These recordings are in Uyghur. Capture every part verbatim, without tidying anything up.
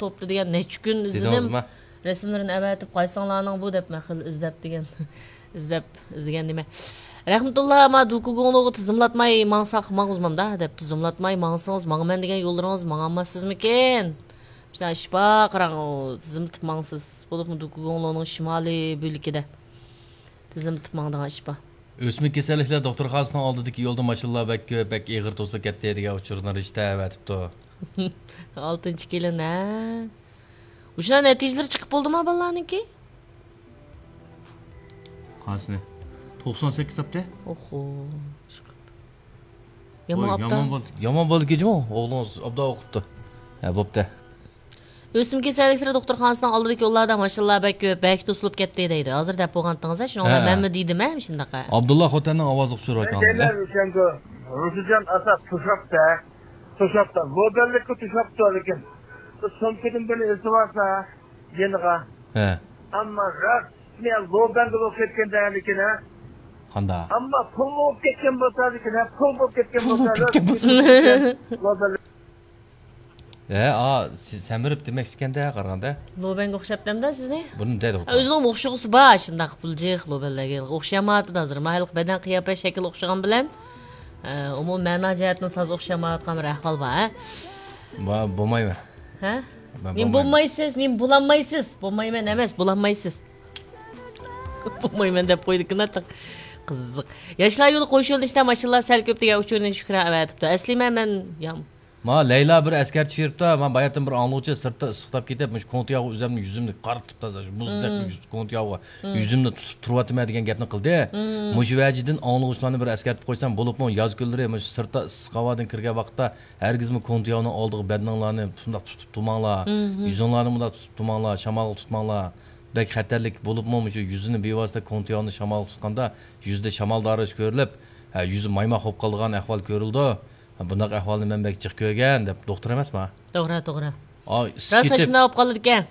توپتا دېگەن نەچچە كۈن ئىزلىدىم. دېدىڭىزمۇ؟ رەسىملىرىنى ئەۋەتىپ، قايسىڭلارنىڭ بۇ دەپ مەن خېلى ئىزدەپ دېگەن. ئىزدەپ، ئىزدىگەن نېمە. رەھمەتۇللا، ما دوكۇگۇڭلوغا تىزىملاتماي ماڭساق ماڭغۇزمامدا دەپ، تىزىملاتماي ماڭسىڭىز ماڭىمەن دېگەن يوللىرىڭىز ماڭالماسسىزمىكىن؟ شۇنداق ئىش بار، قاراڭ، ئۇ تىزىملىتىپ ماڭسىز. بولۇپمۇ دوكۇگۇڭلونىڭ شىمالىي بۆلىكىدە تىزىملىتىپ ماڭىدىغان ئىش بار. ئۆسمە كېسەللىكلەر دوختۇرخانىسىنىڭ ئالدىدىكى يولدا ماشىنىلار بەك كۆپ، بەك ئېغىر توسۇلۇپ كەتتى دېگەن ئۇچۇرنى رىشتە ئەۋەتىپتۇ. ئالتىنچى كېلىن، ھە؟ مۇشۇلار نەتىجىلىرى چىقىپ بولدىما بالىلارنىڭكى؟ قانسىنى؟ توقسان سەككىز تاپتى. ئوخو، چىقىپ. يامان ۋاي، ئاپتا. يامان بول-، يامان بولدىكى جۇمۇ. ئوغلىڭىز ئابدا ئوقۇپتۇ. ھە، بوپتۇ. ئۆسۈم كېسەللىكلىرى دوختۇرخانىسىنىڭ ئالدىدىكى يوللاردا ماشىنىلار بەك كۆپ، بەك توسۇلۇپ كەتتى دەيدۇ. ھازىر دەپ بولغانتىڭىز، شۇنىڭ بىلەن ھە. مەنمۇ دېدىم، ھە، مۇشۇنداق. ئابدۇللا خوتەننىڭ ئاۋازى ئۇچۇر ئاكاڭىز، ھە؟ روشەنگۈل، روشىجان ئاساس توشاپتۇ، توشاپتۇ. لوبەنلىككە توشاپتۇ، لېكىن بۇ سومكىدىن بىرنى ئېسىۋالسا يېنىغا. ھە. ئەمما راست لوبەنگە بولۇپ كەتكەندە، لېكىن، ھە؟ قاندا؟ ئەمما پۇل بولۇپ كەتكەن بولسا، لېكىن، ھە، پۇل بولۇپ كەتكەن پۇل بولسا، بولۇپ كەتكەن بولسا. لوبەنلىك ھە، ئا، سى-، سەمرىپ دېمەكچىكەندە، قارىغاندا. لوبەنگە ئوخشاپتىمدا سىزنى؟ بۇنى دەيدۇ. ئۆزىنىڭ ئوخشىغۇسى بار، شۇنداق بىلجىق لوبەنلەرگە ئوخشىيالمايۋاتىدۇ ھازىر. ماھىللىق بەدەن قىياپەت شەكلى ئوخشىغان بىلەن، ئە، ئومۇمىي مەنا جەھەتتىن تازا ئوخشىيالمايۋاتقان بىر ئەھۋال بار، ھە؟ با-، بولمايمەن. ھە؟ مەن نېمە بولمايمەن. بولمايسىز، نېمە بولالمايسىز؟ بولمايمەن ئەمەس، بولالمايسىز. بولمايمەن دەپ قويدىكىن، قىزىق. ياشلار يولى قوش يۆنىلىشتە ماشىنىلار سەل كۆپ دېگەن ئۇچۇرنى شۈكران ئەۋەتىپتۇ. ئەسلىمە مەن يام-، ما لەيلا بىر ئەسكەرتىش بېرىپتۇ، ما باياتىن بىر ئاڭلىغۇچى سىرتتا ئىسسىقلاپ كېتىپ، مۇشۇ كونتياغا ئۆزەمنى يۈزۈمنى قارىتىپ تازا، مۇزدەك مم. يۈز-، كونتياغا مم. يۈزۈمنى تۇتۇپ تۇرۇۋاتىمەن دېگەن گەپنى قىلدى. مم. مۇشۇ ۋەجىدىن ئاڭلىغۇچىلارنى بىر ئەسكەرتىپ قويسام، بولۇپمۇ ياز كۈنلىرى مۇشۇ سىرتتا ئىسسىق ھاۋادىن كىرگەن ۋاقىتتا ھەرگىزمۇ كونتياغنىڭ ئالدىغا بەدىنىڭلارنى شۇنداق تۇتۇپ تۇرماڭلار، مم. يۈزۈڭلارنى مۇنداق تۇتۇپ تۇرماڭلار، شامالغا تۇتماڭلار. بەك خەتەرلىك بولۇپمۇ مۇشۇ يۈزىنى بىۋاسىتە كونتياغنى شامالغا تۇتقاندا يۈزدە شامال دارىسى كۆرۈلۈپ، ھە، يۈزى مايماق بولۇپ قالىدىغان ئەھۋال كۆرۈلىدۇ. ھە، بۇنداق ئەھۋالنى مەن بەك جىق كۆرگەن دەپ دوختۇر ئەمەسما؟ توغرا، توغرا. ئا، ئىسسىپ راست كېتىپ، ئاشۇنداق بولۇپ قالىدىكەن.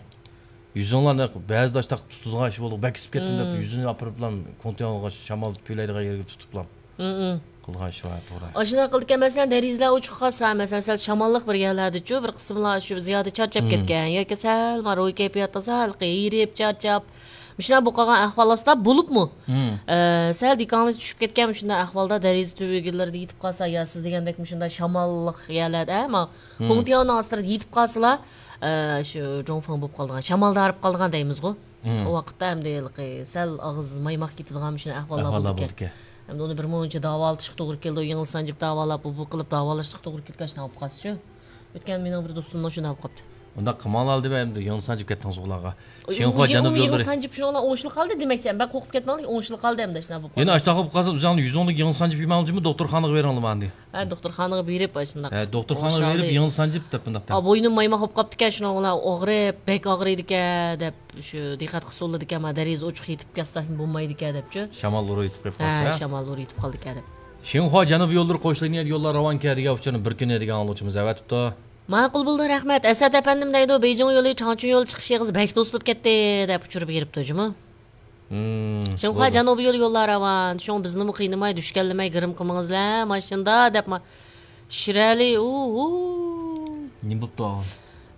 يۈزۈڭلارنى بەزىدە ئاشۇنداق تۇتىدىغان ئىش بولدى، بەك ئىسسىپ كەتتىم دەپ مم. يۈزىنى ئاپىرىپلا كونتياغغا شامال پۈۋلەيدىغان يەرگە تۇتۇپلا. مم. قىلغان ئىشى بار، توغرا. ئاشۇنداق قىلىدىكەن، مەسىلەن، دېرىزىلەر ئوچۇق قالسا، مەسىلەن، سەل شاماللىق بىر يەرلەردىچۇ، بىر قىسىملار شۇ زىيادە چارچاپ مم. كەتكەن ياكى سەل ما روھىي كەيپىيات تازا ھېلىقى ھېرىپ، چارچاپ، مۇشۇنداق بولۇپ قالغان ئەھۋال ئاستىدا بولۇپمۇ، مم. ئە، سەل دىققىتىڭىز چۈشۈپ كەتكەن مۇشۇنداق ئەھۋالدا دېرىزە تۈۋىگىلىرىدە يېتىپ قالسا، يا سىز دېگەندەك مۇشۇنداق شاماللىق يەرلەردە، ما، مم. كونتياۋنىڭ ئاستىدا يېتىپ قالسىلا، ئە، شۇ جۇڭفېڭ بولۇپ قالىدىغان، شامالدا ھارىپ قالىدىغان دەيمىزغۇ. مم. ئۇ ۋاقىتتا ئەمدى ھېلىقى سەل ئاغزى مايماق كېتىدىغان مۇشۇنداق ئەھۋاللار ئەھۋاللار بولىدىكەن. بولىدىكەن. ئەمدى ئۇنى بىر مۇنچە داۋالىتىشقا توغرا كېلىدۇ، يېڭىلسان جىپ داۋالاپ، بۇ، بۇ قىلىپ داۋالاشقا توغرا كېلىدىكەن، شۇنداق بولۇپ قالسىچۇ. ئۆتكەن مېنىڭ بىر دوستۇمنىڭ شۇنداق بولۇپ قاپتۇ. ئۇنداق قىلماڭلار دېمە، ئەمدى يېڭىلسان جىپ كەتتىڭىز ئۇلارغا. ئۇ، شىنخۇا ئۇ، جەنۇبىي يېڭى يوللىرى. يېڭىلسان جىپ شۇنىڭ بىلەن ئوڭشىلىپ قالدى دېمەكچى. بەك قورقۇپ كەتمەڭلار، ئوڭشىلىپ قالدى ئەمدى شۇنداق بولۇپ قالدى. يەنە ئاشۇنداق بولۇپ قالسا، ئۆزۈڭلار يۈزۈڭلۈك يېڭىلسان جىپ يېمەڭلار جۇمۇ، دوختۇرخانىغا بېرىڭلار ماندى. ھە، دوختۇرخانىغا بېرىپ ئاشۇنداق. ھە، دوختۇرخانىغا بېرىپ يېڭىلسان جىپ دەپ بۇنداق دەپ. ھا، بوينۇم مايماق بولۇپ قاپتىكەن، شۇنىڭ بىلەن ئاغرىپ، بەك ئاغرىيدىكەن دەپ شۇ دىققەت قىلسا بولىدىكەن، ما دېرىزە ئوچۇق يېتىپ كەتسەكمۇ بولمايدىكەن دەپچۇ. شامال ئۇرۇپ يېتىپ قېلىپ قالسا، ھە، ھە؟ شامال ئۇرۇپ يېتىپ قالدىكەن دەپ. شىنخۇا جەنۇبىي يوللىرى قوش لىنىيەدە يوللار راۋانكەن دېگەن ئۇچۇرنى بىر كۈنى دېگەن ئاڭلىغۇچىمىز ئەۋەتىپتۇ. ماقۇل بولدى، رەھمەت. ئەسەت ئەپەندىم دەيدۇ، بېيجىڭ يولى، چاڭچيۇ يولى چىقىش ئېغىزى بەك توسۇلۇپ كەتتى دەپ ئۇچۇر بېرىپتۇ جۇمۇ. مم، شىنخۇا بولدى. جەنۇبىي يولى يوللار راۋان، شۇڭا بىزنىمۇ قىينىماي، دۈشكەنلىمەي، گىرىم قىلمىڭىزلە ماشىنىدا دەپ ما-، شىرئەلى، ئۇھۇ. نېمە بوپتۇ ئاغا؟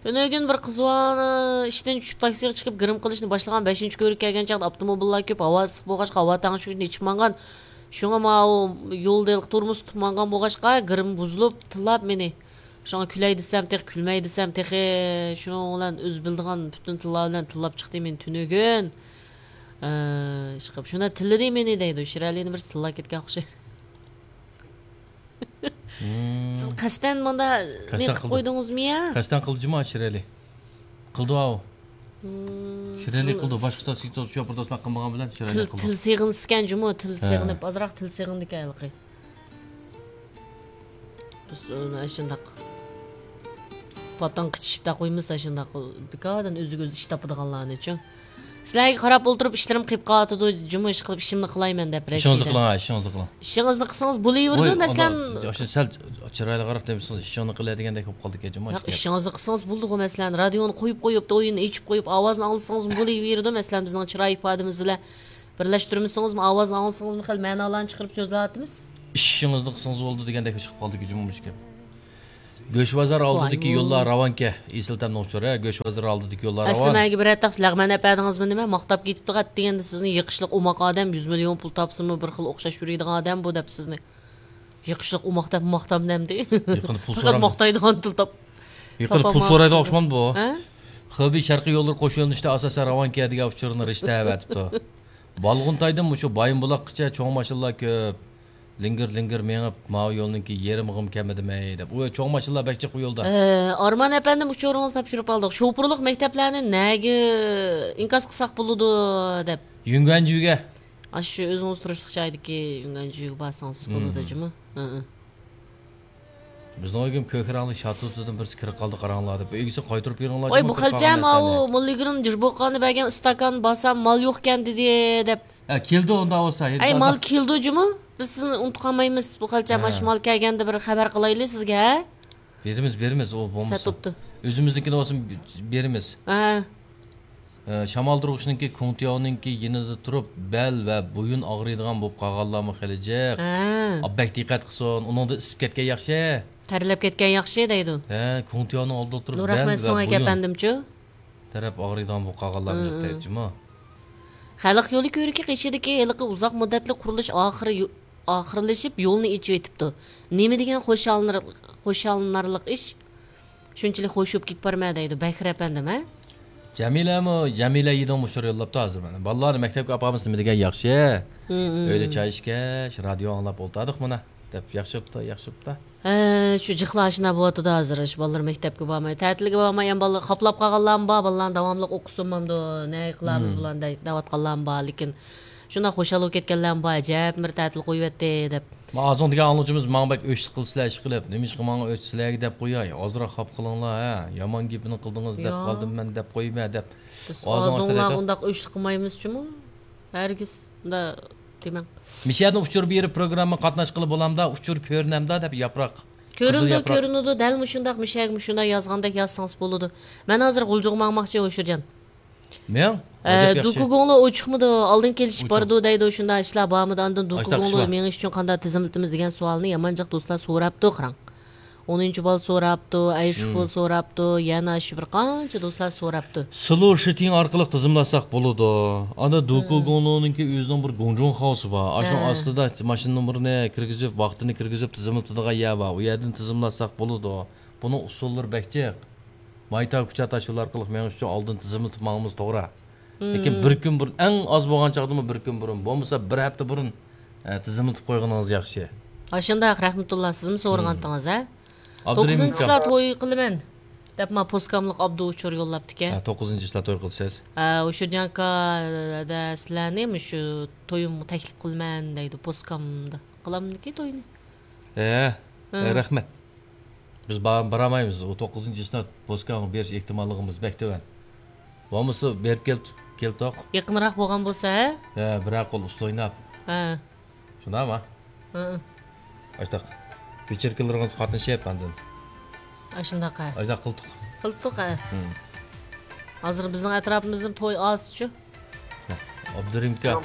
تۈنۈگۈن بىر قىز بالا ئىشتىن چۈشۈپ تاكسىغا چىقىپ گىرىم قىلىشنى باشلىغان. بەشىنچى كۆۋرۈككە كەلگەن چاغدا ئاپتوموبىللار كۆپ، ھاۋا ئىسسىق بولغاچقا ھاۋا تەڭشىگۈچنى ئېچىپ مانغان. شۇڭا ماۋۇ يولدا ھېلىقى تورمۇز تۇتۇپ مانغان بولغاچقا گىرىم بۇزۇلۇپ تىللاپ مېنى. شۇڭا كۈلەي دېسەم تېخى، كۈلمەي دېسەم تېخى، شۇنىڭ بىلەن ئۆزى بىلىدىغان پۈتۈن تىللار بىلەن تىللاپ چىقتى مېنى تۈنۈگۈن. ئە، ئىشقىپ، شۇنداق تىللىدى مېنى دەيدۇ. شىرئەلىنى بىرسى تىللاپ كەتكەن ئوخشايدۇ. مم. سىز قەستەن مۇندا قەستەن نېمە قىلىپ قىلدىم. قويدىڭىزمۇ يا؟ قەستەن قىلدى جۇمۇ شىرئەلى. قىلدى ئاۋۇ. مم، شىرئەلى سىز قىلدى. باشقا شوپۇرداشلار قىلمىغان بىلەن شىرئەلى تىل، قىلدى. تىل سېغىنسىكەن جۇمۇ، تىل ھە. سېغىنىپ، ئازراق تىل سېغىندىكەن ھېلىقى. بىز ئۇنى ئاشۇنداق پاتاڭ قىچىشىپ قويمىسا، ئاشۇنداق بىكاردىن ئۆزىگە ئۆزى ئىش تاپىدىغانلارنىچۇ. سىلەرگە قاراپ ئولتۇرۇپ ئىشلىرىم قېيىپ قالىدۇ جۇمۇ، ئىشقىلىپ ئىشىمنى قىلايمەن دەپ. ئىشىڭىزنى رەشىدە. قىلىڭ، ھە، ئىشىڭىزنى قىلىڭ. ئىشىڭىزنى قىلسىڭىز بولۇۋېرىدۇ، ۋوي، مەسىلەن. ئاشۇ سەل چىرايلىقراق دېمىسىڭىز، ئىشىڭنى قىلە دېگەندەك بولۇپ قالدىكەن جۇمۇ. ياق، ئىشىڭىزنى قىلسىڭىز بولىدىغۇ، مەسىلەن، رادىيونى قويۇپ قويۇپ، ئويۇننى ئېچىپ قويۇپ، ئاۋازنى ئاڭلىسىڭىزمۇ بولۇۋېرىدۇ، مەسىلەن، بىزنىڭ چىراي ئىپادىمىز بىلەن بىرلەشتۈرمىسىڭىزمۇ، ئاۋازنى ئاڭلىسىڭىزمۇ خېلى مەنالارنى چىقىرىپ سۆزلەۋاتىمىز. ئىشىڭىزنى قىلسىڭىز بولدى دېگەندەك چىقىپ قالدىكەن جۇمۇ مۇشۇ گەپ. گۆش بازار ئالدىدىكى يوللار راۋانكەن. ئېسىل تەمنىڭ ئۇچۇرى، ھە، گۆش بازار ئالدىدىكى يوللار ئەسلى راۋان. مەگە بىرەر تەخسە لەغمەن ئەپەردىڭىزمۇ نېمە؟ ماختاپ كېتىپتىغۇ ئەتىگەندە سىزنى، يېقىشلىق ئوماق ئادەم، يۈز مىليون پۇل تاپسىمۇ بىر خىل ئوخشاش يۈرىدىغان ئادەم بۇ دەپ سىزنى. يېقىشلىق ئوماق دەپ ماختام نەمدى؟ يېقىندا پۇل پەقەت سورام- ماختايدىغان تىل تاپ-، يېقىندا پۇل تاپالماپسىز. سورايدىغان ئوخشىمامدۇ بۇ؟ ھە؟ خېبېي شەرقىي يوللىرى قوش يۆنىلىشتە ئاساسەن راۋانكەن دېگەن ئۇچۇرنى رىشتە ئەۋەتىپتۇ. بالغۇنتايدىن مۇشۇ بايىنبۇلاققىچە چوڭ ماشىنىلار كۆپ. لىڭگىر-لىڭگىر مېڭىپ، ماۋۇ يولنىڭكى يېرىمىغىمۇ كەلمىدىمەي دەپ. ئۇ چوڭ ماشىنىلار بەك جىق ئۇ يولدا. ئە، ئارمان ئەپەندىم، ئۇچۇرىڭىزنى تاپشۇرۇپ ئالدۇق. شوپۇرلۇق مەكتەپلەرنى نەگە ئىنكاس قىلساق بولىدۇ دەپ. يۈڭگەنجۈگە. ئاشۇ ئۆزىڭىز تۇرۇشلۇق جايدىكى يۈڭگەنجۈگە بارسىڭىز بولىدۇ جۇمۇ. ھە، ھە. بىزنىڭ ئۆيگىمۇ كۆكرەڭلىك شاتۇتىدىن بىرسى كىرىپ قالدى، قاراڭلار دەپ. ئۆيگىسى قايتۇرۇپ بېرىڭلار. ۋاي، جۇمۇ، بۇ كىرىپ قالغان خەلچەم، ئاۋۇ نەرسىلەرنى. موللىگۈرۈم جىربوقاندا بەرگەن ئىستاكان بارسام مال يوقكەن دېدى دەپ. ھە، كېلىدۇ ئۇنداق بولسا. ئەي، مال كېلىدۇ جۇمۇ. بىز سىزنى ئۇنتۇپ قالمايمىز. بۇ خەلچەم، ھە، ماش مال كەلگەندە بىر خەۋەر قىلايلى سىزگە، ھە؟ بېرىمىز، بېرىمىز، ئۇ بولمىسا. سەت بوپتۇ. ئۆزىمىزنىڭكىنى بولسا بېرىمىز. ھە. ئە، شامالدۇرغۇچنىڭكى، كۇڭتياۋنىڭكى يېنىدا تۇرۇپ، بەل ۋە بويۇن ئاغرىيدىغان بولۇپ قالغانلارمۇ خېلى جىق. ھە. ئا، بەك دىققەت قىلسۇن، ئۇنىڭدا ئىسسىپ كەتكەن ياخشى. تەرلەپ كەتكەن ياخشى دەيدۇ. ھە، كۇڭتياۋنىڭ ئالدىدا تۇرۇپ، بەل ۋە بويۇن. نۇرئەخمەت سۆڭەك ئەپەندىمچۇ؟ تەرەپ ئاغرىيدىغان بولۇپ قالغانلار جىق دەيدۇ جۇمۇ. خەلق يولى كۆۋرۈكى قېشىدىكى ھېلىقى ئۇزاق مۇددەتلىك قۇرۇلۇش ئاخىرى يو-، ئاخىرلىشىپ، يولنى ئېچىۋېتىپتۇ. نېمە دېگەن خۇشاللىنار-، خۇشاللىنارلىق ئىش. شۇنچىلىك خۇش بولۇپ كېتىپ بارىمەن دەيدۇ بەكرى ئەپەندىم، ھە؟ جەمىلەمۇ، جەمىلە يېدىڭ مۇشۇ يوللاپتۇ ھازىر مانا. بالىلارنى مەكتەپكە ئاپارمىسا نېمە دېگەن ياخشى. ھىم، ھىم. ئۆيدە چاي ئىچكەچ، رادىيو ئاڭلاپ ئولتۇردۇق مانا. دەپ ياخشى بوپتۇ، ياخشى بوپتۇ. ھە، شۇ جىقلار ئاشۇنداق بولۇۋاتىدۇ ھازىر. شۇ بالىلار مەكتەپكە بارماي، تەتىلگە بارماي، يەنە بالىلار خاپىلاپ قالغانلارمۇ بار، بالىلارنى داۋاملىق ئوقۇسۇنمامدۇ، نە قىلارمىز بۇلارنى دەي-، دەۋاتقانلارمۇ بار. لېكىن شۇنداق خۇشال بولۇپ كەتكەنلەرمۇ بار، ئەجەبمۇ بىر تەتىل قويۇۋەتتى دەپ. ما ئازۇڭ دېگەن ئاڭلىغۇچىمىز ماڭا بەك ئۆچلۈك قىلىسىلەر ئىشقىلىپ، نېمىشقا ماڭا ئۆچ سىلەرگە دەپ قوياي، ئازراق خاپا قىلىڭلار، ھە، يامان گېپىنى قىلدىڭىز دەپ قالدىم مەن دەپ قويمە دەپ. بىز ئازۇڭلار ئۇنداق ئۆچلۈك قىلمايمىز جۇمۇ، ھەرگىز ئۇنداق دېمەڭ. مىشەدىن ئۇچۇر بېرىپ پروگرامما قاتناشقىلى بولامدا، ئۇچۇر كۆرۈنەمدا دەپ ياپراق. قىزىل كۆرۈنىدۇ، ياپراق. كۆرۈنىدۇ، دەل مۇشۇنداق مىشەگە مۇشۇنداق يازغاندەك يازسىڭىز بولىدۇ. مەن ھازىر غۇلجىغا ماڭماقچى ھوشۇرجان. مېڭ؟ ئە، ئەجەب ياخشى. دۇكۇگۇڭلو ئۇچۇقمىدۇ، ئالدىن كېلىشىپ بارىدۇ دەيدۇ، شۇنداق ئىشلار بارمىدۇ؟ ئاندىن دۇكۇگۇڭلو مېڭىش ئۈچۈن قانداق تىزىملىتىمىز دېگەن سوئالنى يامان جىق دوستلار سوراپتۇ، قاراڭ. ئونىنچى بال سوراپتۇ، ئەيشۇفۇل سوراپتۇ، يەنە شۇ بىر قانچە دوستلار سوراپتۇ. سلو شىتىڭ ئارقىلىق تىزىملاتساق بولىدۇ. ئاندىن دۇكۇگۇڭلونىڭكى ئۆزىنىڭ بىر گۇڭجۇڭخاۋسى بار. ئاشۇنىڭ ئاستىدا ماشىنا نومۇرىنى كىرگۈزۈپ، ۋاقتىنى كىرگۈزۈپ تىزىملىتىدىغان يەر بار. ئۇ يەردىن تىزىملاتساق بولىدۇ. بۇنىڭ ئۇسۇللىرى بەك جىق. مايتاۋ كۇچا تاشيولى ئارقىلىق مېڭىش ئۈچۈن ئالدىن تىزىملىتىپ ماڭىمىز توغرا. لېكىن بىر كۈن بۇرۇن، ئەڭ ئاز بولغان چاغدىمۇ بىر كۈن بۇرۇن، بولمىسا بىر ھەپتە بۇرۇن، ئە، تىزىملىتىپ قويغىنىڭىز ياخشى. ئاشۇنداق، رەھمەتۇللا، سىزمۇ سورىغانتىڭىز، ھە؟ توققۇزىنچى چىسلا توي قىلىمەن دەپ، ما پوسكاملىق ئابدۇ ئۇچۇر يوللاپتىكەن. ھە، توققۇزىنچى چىسلا توي قىلىسىز. ھە، ئۇچۇرجان ئاكا، دە، سىلەرنى مۇشۇ تويۇمغا تەكلىپ قىلىمەن دەيدۇ، پوسكامدا. قىلامدىكى توينى. ھە، ھە. رەھمەت. بىز با-، بارالمايمىز. ئۇ توققۇزىنچى ئىسناد پوسكاڭغا بېرىش ئېھتىماللىقىمىز بەك تۆۋەن. بولمىسا بېرىپ كەل-، كەلتۇق. يېقىنراق بولغان بولسا، ھە؟ ھە، بىرەر قول ئۇستا ئويناپ. ھە. شۇنداقمۇ؟ ھە. ئاشتاق. ۋېچېركىلىرىڭىزغا قاتنىشىپ ئاندىن. ئاشۇنداق، ھە. ئاشتاق قىلتۇق. قىلتۇق، ھە. ھىم. ھازىر بىزنىڭ ئەتراپىمىزدا توي ئازچۇ. ئابدۇرېھىم ئاكا.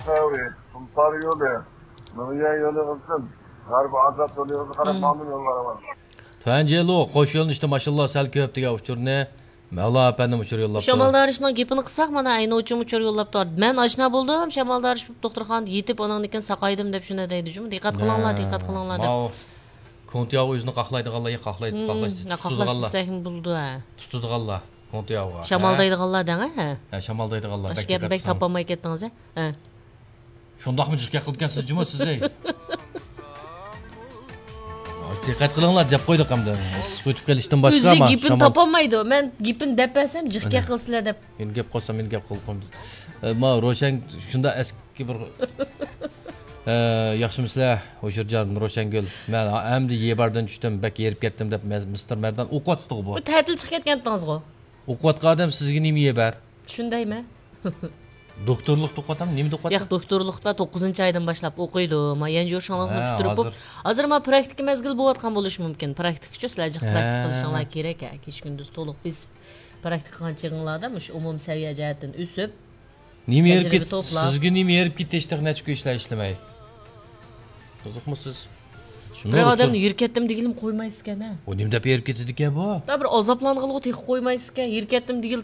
قۇمسارى يولى، مىڭيۈەن يولى بولسۇن، غەربىي ئازاد يولىغا قاراپ ماڭدىم يوللار ئامان. تۈەنجيېلۇ قوش يۆنىلىشتە ماشىنىلار سەل كۆپ دېگەن ئۇچۇرنى مەۋلا ئەپەندىم ئۇچۇر يوللاپتۇ. شامال دارىشنىڭ گېپىنى قىلساق، مانا ئەينى ئۇچۇم ئۇچۇر يوللاپتۇ. مەن ئاشنا بولدۇم، شامال دارىش دوختۇرخانىدا يېتىپ، ئانىڭدىن كېيىن ساقايدىم دەپ شۇنداق دەيدۇ جۇمۇ. دىققەت قىلىڭلار، دىققەت قىلىڭلار دەپ. ماۋۇ كۇڭتياۋ ئۆزىنى قاقلايدىغانلار، قاقلايدۇ، قاقلاش، ھىم، قاقلاش تۇتىدىغانلار. دېسەكمۇ بولىدۇ، ھە. تۇتىدىغانلار، كۇڭتياۋغا. شامالدايدىغانلار دەڭ، ھە؟ ھە، شامالدايدىغانلار. باشقا گەپنى بەك تاپالماي كەتتىڭىز، ھە؟ ھە. شۇنداقمۇ جىق گەپ قىلىدىكەنسىز جۇمۇ سىز، ھەي؟ دىققەت قىلىڭلار دەپ قويدۇق ئەمدى. ئىسسىق ئۆتۈپ قېلىشتىن باشقا. ئۆزى گېپىنى تاپالمايدۇ. مەن گېپىنى دەپ بەرسەم جىق گەپ قىلىسىلەر دەپ. مېنى گەپ قىلسا مېنى گەپ قىلىپ قويمىسىز. ئە، ما روشەن شۇنداق ئەسكى بىر، ئە، ياخشىمۇسىلەر ھوشۇرجان، روشەنگۈل؟ مەن ئەمدى يېباردىن چۈشتۈم، بەك ھېرىپ كەتتىم دەپ مىستېر مەردان ئوقۇۋاتىدىغۇ بۇ. بۇ تەتىل چىقىپ كەتكەنتىڭىزغۇ؟ ئوقۇۋاتقان ئادەم سىزگە نېمە يېبەر؟ شۇندايمەن. دوكتورلۇقتا ئوقۇۋاتامدۇ؟ نېمىدە ئوقۇۋاتىدۇ؟ ياق، دوكتورلۇقتا توققۇزىنچى ئايدىن باشلاپ ئوقۇيدۇ. ما يەنجۇ شاڭلىقنى پۈتتۈرۈپ، ھازىر، ھازىر ما پراكتىكا مەزگىلى بولۇۋاتقان بولۇشى مۇمكىن. پراكتىكىچۇ سىلەر جىق پراكتىكا قىلىشىڭلار كېرەك، ھە، كېچە كۈندۈز تولۇق بېسىپ پراكتىكا قىلغان چېغىڭلاردا مۇشۇ ئومۇمىي سەۋىيە جەھەتتىن ئۆسۈپ، نېمە ھېرىپ تەجرىبە كېتىپ، توپلاپ. سىزگە نېمە ھېرىپ كېتىشتى نەچچە كۈن ئىشلەر ئىشلىمەي؟ قىزىقمۇ سىز؟ بىر ئادەمنى يۈرۈپ كەتتىم دېگىلىمۇ قويمايسىكەن ھە. ئۇ نېمە دەپ ھېرىپ كېتىدىكەن بۇ؟ دا بىر ئازابلانغىلىغۇ تېخى قويمايسىكەن، يۈرۈپ كەتتىم دېگىلى.